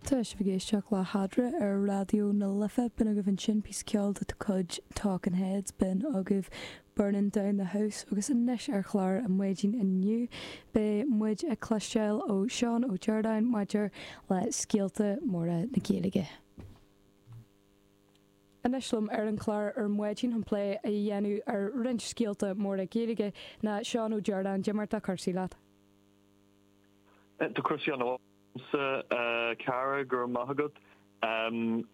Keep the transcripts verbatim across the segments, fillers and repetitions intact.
Tá sibh ag éisteacht le hEadra ar Raidió na Life. B'in agaibh ansin píosa ceoil de chuid Talking Heads, b'in agaibh Burning Down the House. Agus anois ar chlár an maidin inniu, beidh muid ag cloisteáil ó Seán Ó Direáin maidir le scéalta móra na Gaeilge. Anois liom ar an chlár ar maidin chun plé a dhéanamh ar roinnt scéalta móra Gaeilge ná Seán Ó Direáin. Cad é mar atá cúrsaí leat? Tá cúrsaí an a chara, go raibh maith agat,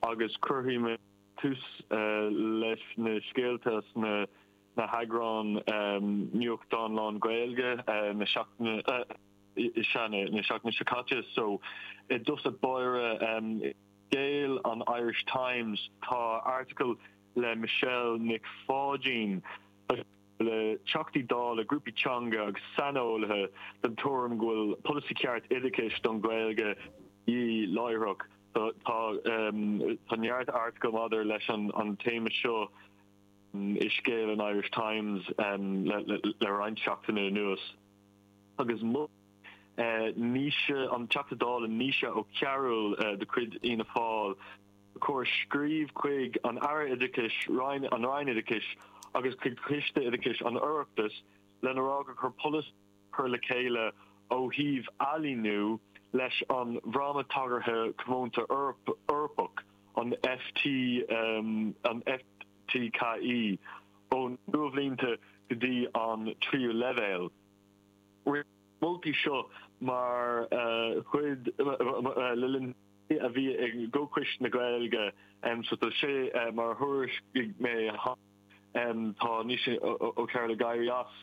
agus cuirfidh mé tús leis na scéalta sna na heagráin nuachtán lán-Ghaeilge na seachtaine sea na seachtaine seo caite. So i dtosach báire, Scéal an Irish Times, tá article le Michelle Nic Pháidín le Teachtaí Dála, grúpaí teanga agus saineolaithe den tuairim go bhfuil polasaí ceart oideachais don Ghaeilge de dhíth láithreach. Tá tá neart article maidir leis an an téama seo i scéal an Irish Times le le roinnt seachtaine anuas. Agus mhol Naoise, an Teachta Dála Naoise Ó Cearúil de chuid Fhianna Fáil, gur scríobh chuig an Aire Oideachais, Roinn an Roinn Oideachais agus chuig Coiste Oideachais an Oireachtais lena rá gur chóir polasaí a chur le chéile ó thaobh ailíniú leis an bhFráma Tagartha Comónta Eorpach, an F T an F T K E, ó na luathbhlianta go dtí an tríú leibhéal. Rinneadh na moltaí seo mar chuid le linn a bhí ag gComhchoiste na Gaeilge, so tá sé mar a thuairiscigh mé, tá Naoise Ó Cearúil ag éirí as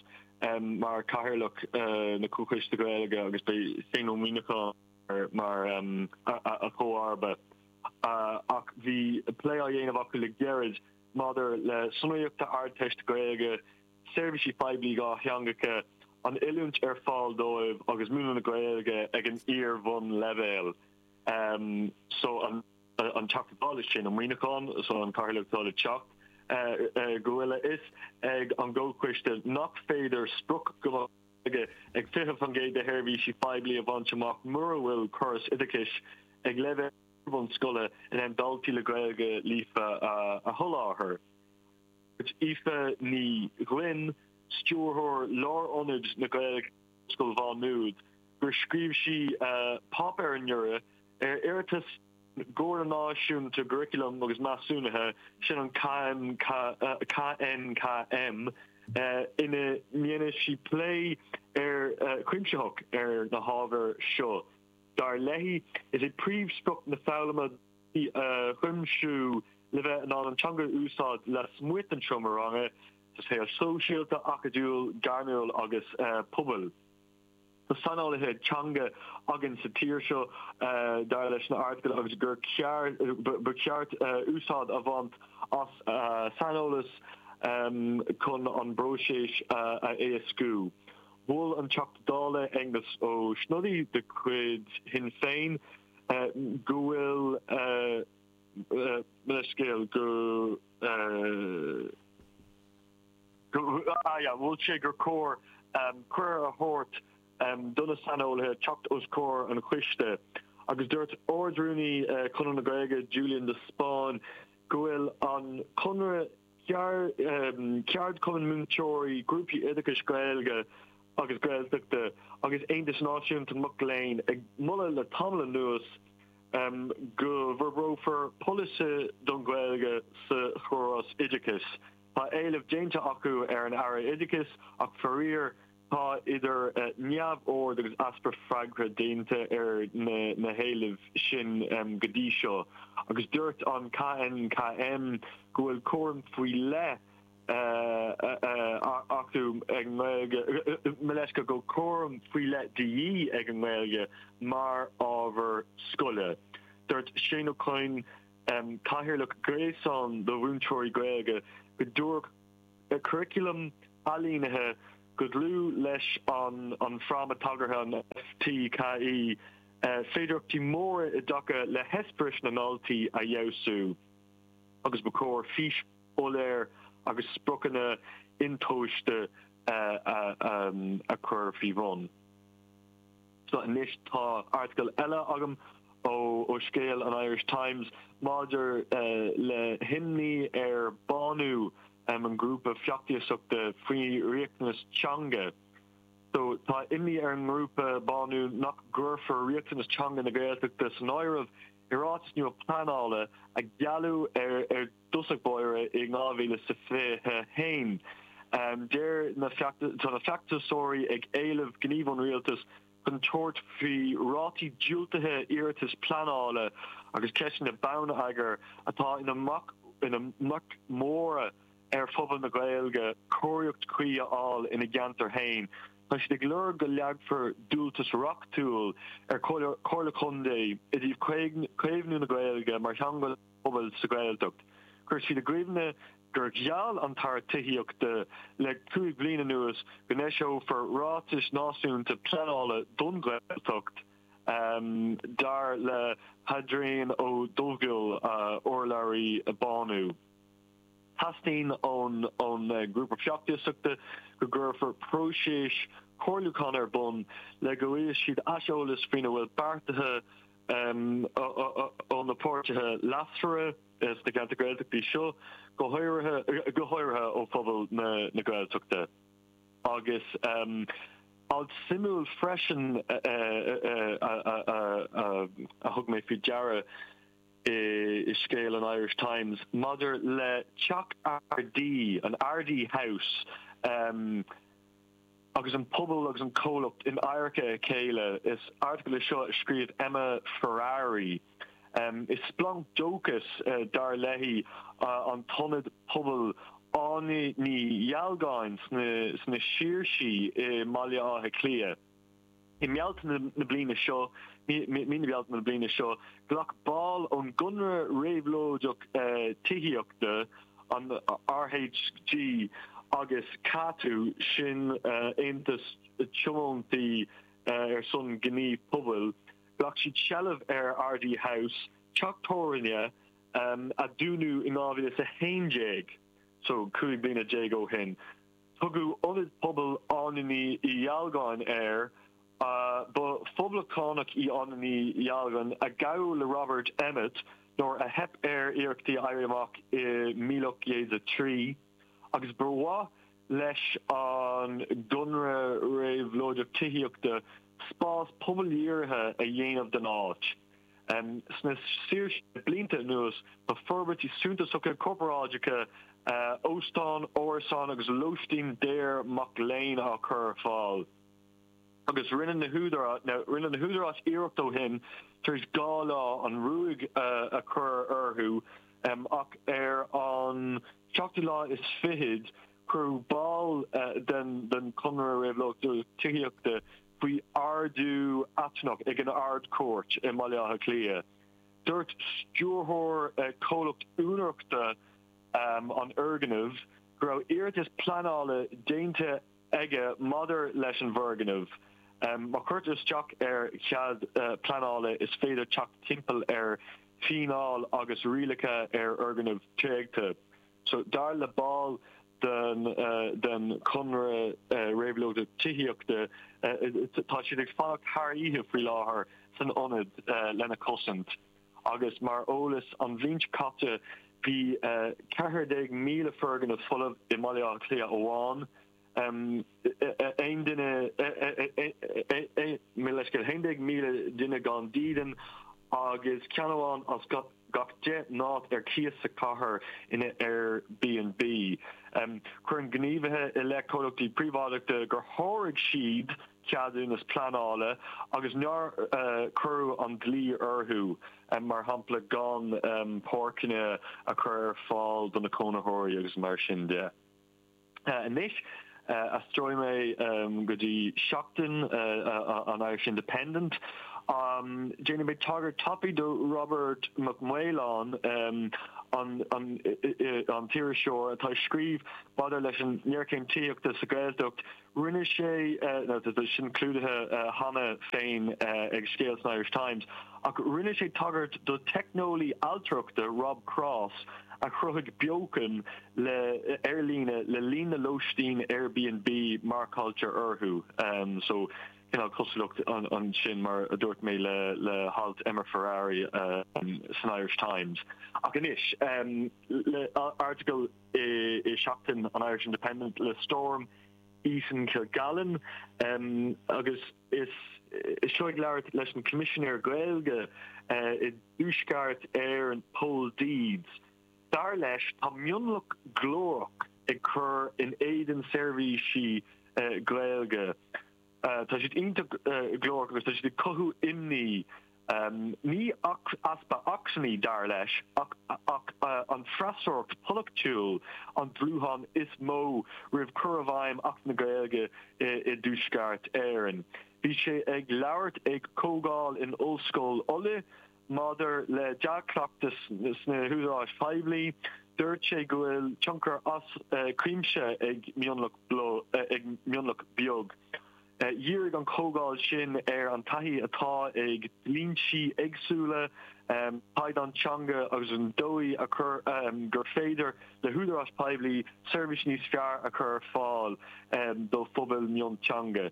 mar chathaoirleach na Comhchoiste Gaeilge agus beidh Shane Ó Muimhneacháin mar a chomharba, ach bhí plé á dhéanamh acu le gairid maidir le sonraíochtaí Ardteiste Gaeilge, seirbhísí poiblí dhátheangacha, an oiliúint ar fáil dóibh agus múineadh na Gaeilge ag an iar-bhunleibhéal. So an an Teachta Dála sin, Ó Muimhneacháin, so an cathaoirleach atá le teacht, go bhfuil a fhios ag an gComhchoiste nach féidir sprioc go mbeadh Gaeilge ag fiche faoin gcéad de sheirbhísí poiblí a bhaint amach mura bhfuil córas oideachais ag leibhéal bunscoile in ann daltaí le Gaeilge líofa a sholáthar. Dúirt Aoife Ní Ghlinn, Stiúrthóir Lárionad na Gaeilge in Ollscoil Mhá Nuad, gur scríobh sí páipéar anuraidh ar iarratas na Comhairle Náisiúnta gCuraclam agus Measúnaithe, sin an K N K N K M, ina ndéanann sí plé ar cuimsitheach ar na hábhair seo. Dar léi, is é príomhsprioc na foghlama a chuimsiú le bheith in ann an teanga a úsáid lasmuigh den seomra ranga, sa saol sóisialta, acadúil, gairmiúil agus pobail. Tá saineolaithe teanga againn sa tír seo, dar leis an article, agus gur ceart ba cheart úsáid a bhaint as saineolas chun an bpróiseas a éascú. Mhol an Teachta Dála Aengus Ó Snodaigh de chuid Shinn Féin go bhfuil leithscéal go mhol sé gur chóir cuireadh a thabhairt do na saineolaithe teacht os comhair an choiste, agus dúirt Ard-Rúnaí Chonradh na Gaeilge Julian de Spáinn go bhfuil an Conradh, ceardchumainn múinteoirí, grúpaí oideachais Gaeilge agus Gaeltachta agus Aontas Náisiúnta Mac Léinn ag moladh le tamall anuas go bhforbrófar polasaí don Ghaeilge sa chóras oideachais. Tá éileamh déanta acu ar an Aire Oideachais, ach faraor tá idir neamhaird agus easpa freagra déanta ar na héilimh sin go dtí seo. Agus dúirt an K N K M go bhfuil cúram faoi leith acu ag an nGaeilge, mo leithscéal, go bhfuil cúram faoi leith de dhíth ag an nGaeilge mar ábhar scoile. Dúirt Shane Ó Coinn, cathaoirleach Gréasán do Mhúinteoirí Gaeilge, go dtabharfadh curaclam ailínithe go dlúth leis an an Fráma Tagartha, an F T K E, féidearthachtaí móra i dtaca le heispéiris na ndaltaí a fheabhsú agus ba chóir fís shoiléir agus spriocanna intomhaiste a chur faoi bhun. So anois tá article eile agam ó ó ó scéal an Irish Times maidir uh, le himní ar Bánú um, an grúpa feachtasaíochta faoi riachtanas teanga. So tá imní ar an ngrúpa Bánú nach gcuirfear riachtanas teanga na Gaeltachta san áireamh i ráiteas nua pleanála a gealladh ar ar dtús báire i dhá mhíle is fiche haon. Um, Deir na tá na feachtasóirí ag éileamh gníomh ón rialtas chun tabhairt faoi rátaí diúltaithe iarratas pleanála agus ceisteanna bonneagair atá ina mbac ina mbac móra ar phobal na Gaeilge cóiríocht chuí a fháil ina gceantar féin. Tá siad ag lorg go leagfar dualgas reachtúil ar Chomhairle Contae i dtaobh caomhnú na Gaeilge mar theanga pobail sa Ghaeltacht. Chuir siad i gcuimhne gur gheall an tAire Tithíochta le cúig bliana anuas go n-eiseofar ráiteas náisiúnta pleanála don Ghaeltacht um, dar le Hadrian Ó Dubhghaill uh, urlabhraí Bánú. Teastaíonn ón ón uh, grúpa feachtasaíochta go gcuirfear próiseas comhairliúcháin ar bun le go bhfaighidh siad aiseolas faoina bhfuil beartaithe um, ó na páirtithe leasmhara sna ceantair Gaeltachta seo go háirithe go háirithe ó phobal na, na Gaeltachta. Agus um, alt suimiúil freisin a thug mé faoi deara i scéal an Irish Times maidir le Teach Ardee an Ardee House um, agus an pobal agus an comhlacht in adharca a chéile is article é seo a scríobh Emma Ferrari. Um, is splanc dóchais uh, dar léi uh, an t-ionad pobail Áine Ní Dhealgáin sna, sna Saoirsí i mBaile Átha Cliath. I mBealtaine na bliana seo mí na Bealtaine na bliana seo ghlac baill ón gConradh Réabhlóideach uh, Tithíochta an RHG agus CATU sin uh, Aontas Tionóntaí uh, ar son gníomh pobail, ghlac siad seilbh ar Ardee House teach tábhairne um, a dúnadh in dhá mhíle a haon déag, so cúig bliana déag ó shin. Tugadh ionad pobail Áine Ní Dhealgáin air, uh, ba phoblachtánach í Áine Ní Dhealgáin a gabhadh le Robert Emmet nuair a theip ar iarrachtaí éirí amach i míle ocht gcéad a trí, agus ba mhaith leis an gConradh Réabhlóideach Tithíochta spás pobaldhírithe a dhéanamh den áit. Um, sna Saoirsí blianta anuas tá forbairtí suntasacha corparáideacha uh, óstán, árasán agus lóistín daor mac léinn á chur ar fáil. Agus rinne na rinne na húdaráis iarracht ó shin tar éis dhá lá an ruaig uh, a chur orthu um, ach ar an seachtú lá is fichead cuireadh ball uh, den den Conradh Réabhlóideach Tithíochta faoi ordú atrannach ag an Ard-Chúirt i mBaile Átha Cliath. Dúirt stiúrthóir uh, comhlacht úinéireachta um, an fhoirgnimh go raibh iarratas pleanála déanta aige maidir leis an bhfoirgneamh. Um, má chuirtear isteach ar chead uh, pleanála is féidir teacht timpeall ar fhíneáil agus rialacha ar fhoirgnimh tréigthe. So dar le ball den uh, den Conradh uh, Réabhlóideach Tithíochta uh, tá siad ag fanacht thar oíche faoi láthair san ionad uh, lena chosaint. Agus mar eolas an bhliain seo caite bhí uh, ceathair déag míle foirgneamh folamh i mBaile Átha Cliath amháin. Um, aon duine leis go haon déag míle duine gan dídean agus ceann amháin as gach deich n-áit ar cíos sa chathair ina Airbnb. Um, Cuireann gníomhaithe i leith comhlachtaí príobháideachta gur sháraigh siad ceadúnas pleanála agus nár uh, cuireadh an dlí orthu um, mar shampla gan um, páirceanna a chur ar fáil do na cónaitheoirí agus mar sin de. Uh, Anois uh, aistreoidh mé um, go dtí seachtain uh, uh, an Irish Independent. Um, Déanfaidh mé tagairt tapaidh do Robert Mac Maoláin um, an, an, an t-iriseoir atá ag scríobh maidir leis an ngéarchéim tithíochta sa Ghaeltacht rinne sé uh, sin clúdaithe uh, cheana féin uh, ag scéal san Irish Times ach rinne sé tagairt do teicneolaí ailtireachta Rob Cross a chruthaigh beochan le ar líne le líon na lóistín Airbnb marcáilte orthu um, so cineál cosúlacht ansin, mar a dúirt mé, le le halt Emer Ferrari san Irish Times. Ach anois le article i i seachtain an Irish Independent le Storm Eason Kilgallen, um, agus is is seo ag labhairt leis an Coimisinéir Gaeilge uh, i dTuaisceart Éireann, Pól Deeds. Dar leis, tá mionlach glórach ag cur in éadan seirbhísí uh, Gaeilge. Uh, tá siad iontach uh, glórach agus tá siad ag cothú imní. Um, ní easpa acmhainní, dar leis, ach, ach uh, an freasúracht polaitiúil an dúshlán is mó roimh chur i bhfeidhm Acht na Gaeilge i, i dTuaisceart Éireann. Bhí sé ag labhairt ag comhdháil in Ollscoil Uladh maidir le dea-chleachtas sna húdaráis phoiblí. Dúirt sé go bhfuil tionchar as uh, cuimse ag mionlach uh, ag mionlach beag. Dhírigh an chomhdháil sin ar an taithí atá ag dlínsí éagsúla, um, caighdeáin teanga agus an dóigh a chur um, gur féidir le húdaráis poiblí seirbhís níos fearr a chur fáil um, do phobal mionteanga.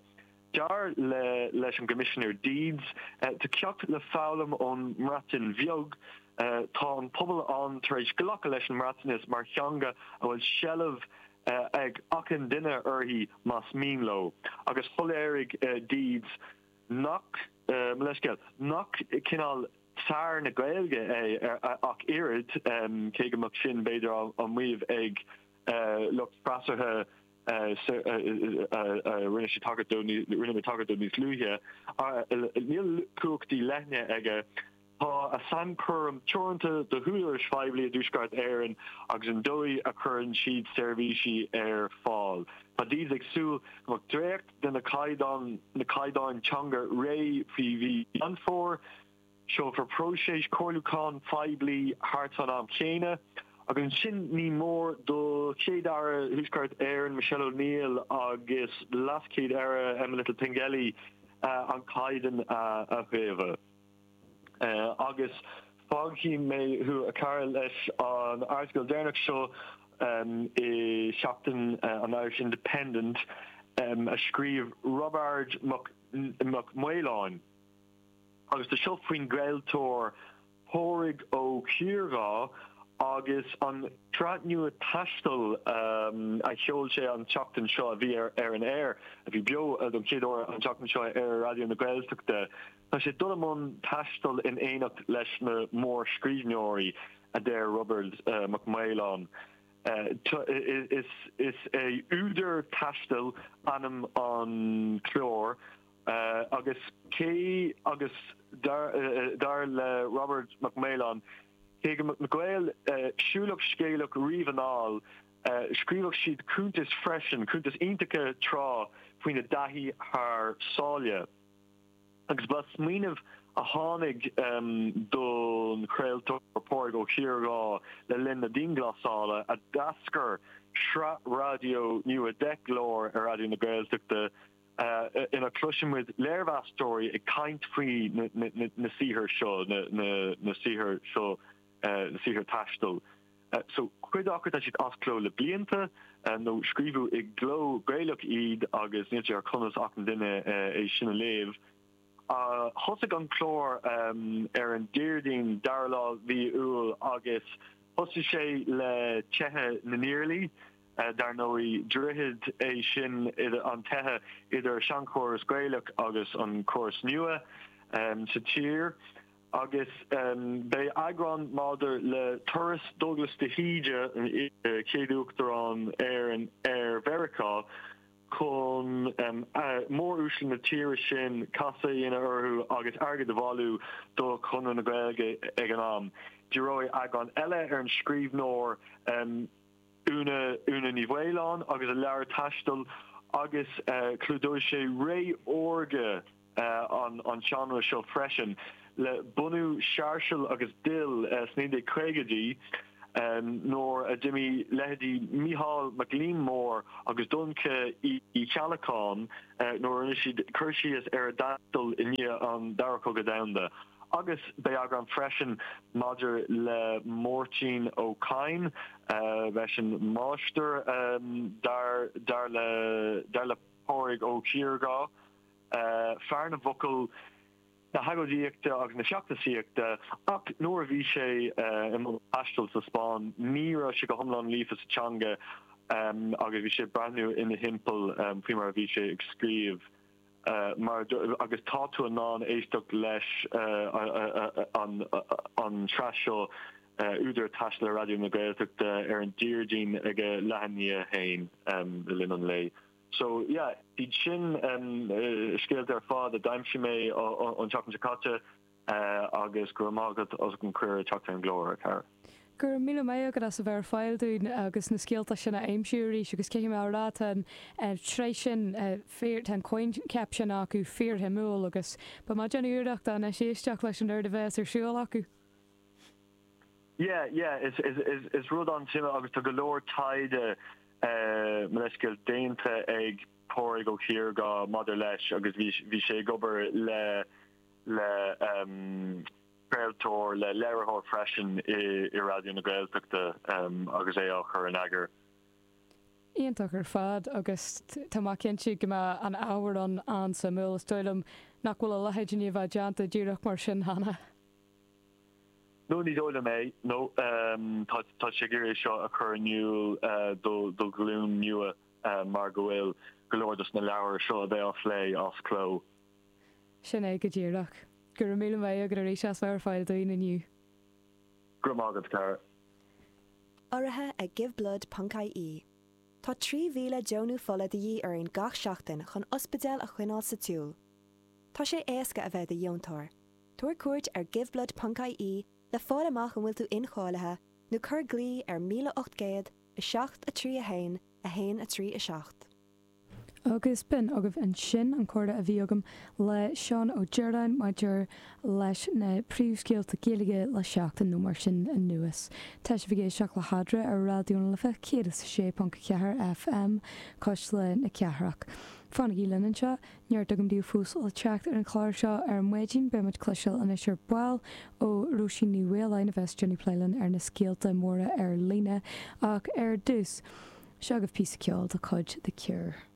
Dar le leis an gCoimisinéir Deeds, uh, tá ceacht le foghlaim ón mBreatain Bheag. uh, tá an pobal ann tar éis glacadh leis an mBreatnais mar theanga a bhfuil seilbh uh, ag achan duine uirthi más mian leo, agus shoiléirigh uh, Deeds nach uh, leiscéal nach cineál Tsar na Gaeilge é ach oiread, um, cé go mbeadh sin b'fhéidir an maíomh ag uh, lucht freasúra rinne sé tagairt rinne mé tagairt níos luaithe. Níl cumhachtaí leithne aige. Tá a sainchúram teoranta do húdaráis phoiblí i dTuaisceart Éireann agus an dóigh a chuireann siad seirbhísí ar fáil. Tá Deeds ag súil go mbeadh dréacht de na caighdeán na caighdeáin teanga réidh faoi mhí Mheán Fómhair. Seolfar próiseas comhairliúcháin phoiblí thart an am céanna. Agus ansin ní mór do Chéad-Aire Thuaisceart Éireann, Michelle O'Neill, agus LeasChéad-Aire Emma Little Pengelly uh, an caighdeán uh, a fhaomhadh. Uh, agus fágfaidh mé thú, a chara, leis an article deireanach seo um, i seachtain uh, an Irish Independent um, a scríobh Roibeard Mac, Mac Maoláin. Agus tá seo faoin gcraoltóir Pádraig Ó Ciardha agus an tsraith nua taistil um, a sheol sé an tseachtain seo, a bhí ar, ar an air, a bhí beo uh, don chéad uair an tseachtain seo ar Raidió na Gaeltachta. Tá sé dul i mbun taistil in éineacht leis na mórscríbhneoirí, a deir Roibeard uh, Mac Maoláin. Uh, is, is é Údar Taistil ainm an chlár, uh, agus cé agus dar, uh, dar le Roibeard Mac Maoláin, cé go na Gaeil uh, siúlach scéalach riamh anall, uh, scríobhadh siad cuntais freisin, cuntais iontacha tráth faoina dtaithí thar sáile. Agus ba smaoineamh a tháinig um, don chraoltóir Pádraig Ó Ciardha le linn na dianghlasála a d'eascair sraith raidió nua deich gclár ar Raidió na Gaeltachta uh, ina gcloisimid léirmheastóirí ag caint faoi na, na, na, na saothair seo, na, na, na saothair seo, uh, na saothair taistil. Uh, so cuid acu, tá siad as cló le blianta uh, nó scríobhadh i gcló Gaelach iad agus níl sé ar chumas achan duine uh, é sin a léamh. Uh, thosaigh an clár um, ar an Déardaoin dara lá mhí Iúil agus thosaigh sé le Teitheadh na nIarlaí. uh, dar ndóigh, droichead é sin idir an teitheadh idir seanchóras Gaelach agus an córas nua um, sa tír. Agus um, beidh eagrán maidir le turas Douglas de hÍde, chéad uachtarán Éireann, ar Mheiriceá chun um, uh, móruaisle na tíre sin casadh a dhéanamh orthu agus airgead a bhailiú do Chonradh na Gaeilge ag an am. Díreoidh eagrán eile ar an scríbhneoir um, Úna Úna Ní Mhaoláin agus a leabhar taistil agus uh, clúdóidh sé ré órga uh, an, an seánra seo freisin le bunú Sáirséal agus Dill uh, sna caogaidí, um, nuair a d'imigh leithéidí Mícheál Mac Liammóir agus Donncha Uí Cheallacháin, uh, nuair rinne siad cur síos ar a dtaisteal i ndiaidh an Dara Cogadh Domhanda. Agus beidh eagrán freisin maidir le Máirtín Ó Cadhain, uh, leis an máistir, um, dar, dar le, dar le Pádraig Ó Ciardha. Fear na bhfocal, na hagóidíochta agus na feachtasaíochta, ach nuair a bhí sé i mbun taistil sa Spáinn, ní raibh sé go hiomlán líofa sa teanga agus bhí sé ag breathnú ina thimpeall faoi mar a bhí sé ag scríobh. Mar agus tá tú in ann éisteacht leis an an tsraith seo Údar ag Taisteal ar Raidió na Gaeltachta ar an Déardaoin ag a leath i ndiaidh a haon le linn an lae. So yeah, iad sin scéalta ar fad a d'aimsigh mé an tseachtain seo caite agus go raibh maith agat as an cuireadh teacht ar an gclár, a chara. Go raibh míle maith agat as a bheith ar fáil dúinn agus na scéalta sin a aimsiú arís agus caithfidh mé a rá tá an tsraith sin fíor, tá an coincheap sin acu fíorshuimiúil agus beidh mé ag déanamh iarrachta anois éisteacht leis an oiread a bheas ar siúl acu. Yeah, yeah, is, is, is, is rud an-suimiúil agus tá go leor taighde mo leithscéal déanta ag Pádraig Ó Ciarghusa maidir leis agus bhí, bhí sé ag obair le, le um, craoltóir, le léiritheoir freisin i, i Raidió na Gaeltachta um, agus é á chur in eagar. Iontach ar fad agus tá mé cinnte go mbeidh an ábhar an an-suimiúil is dóigh liom nach bhfuil a leithéid i ndiaidh bheith déanta díreach mar sin cheana. No ní dóigh liom é nó tá tá sé ag iarraidh seo a chur in iúl do do ghlúin nua mar go bhfuil go leor dos na leabhair seo a bheidh á phlé as cló. Sin é go díreach. Go raibh míle maith agat arís as bheith ar fáil dúinn inniu. Go raibh maith agat, Cara. Urraithe ag giveblood.ie. Tá trí mhíle deonú fola de dhíth orainn gach seachtain chun ospidéil a choinneáil sa tsiúl. Tá sé éasca a bheith i do dheontóir. Tabhair cuairt ar giveblood.ie le fáil amach an bhfuil tú incháilithe nó cuir glao ar míle ocht gcéad a seacht a trí a haon a haon a trí a seacht. Agus b'in agaibh ansin an comhrá a bhí agam le Seán Ó Direáin maidir leis na príomhscéalta Gaeilge le seachtain nó mar sin anuas. Tá sibh ag éisteacht le hEadra ar Raidió na Life céad is a sé ponc a ceathair FM, Cuisle na Cathrach. Fanaigí linn anseo, neart agam daoibh fós le teacht ar an chlár seo ar maidin, beidh muid cloisteáil anois ar ball ó Róisín Ní Mhaoláin a bheas ag déanamh plé linn ar na scéalta móra ar líne ach ar dtús, seo agaibh píosa ceoil de chuid The Cure.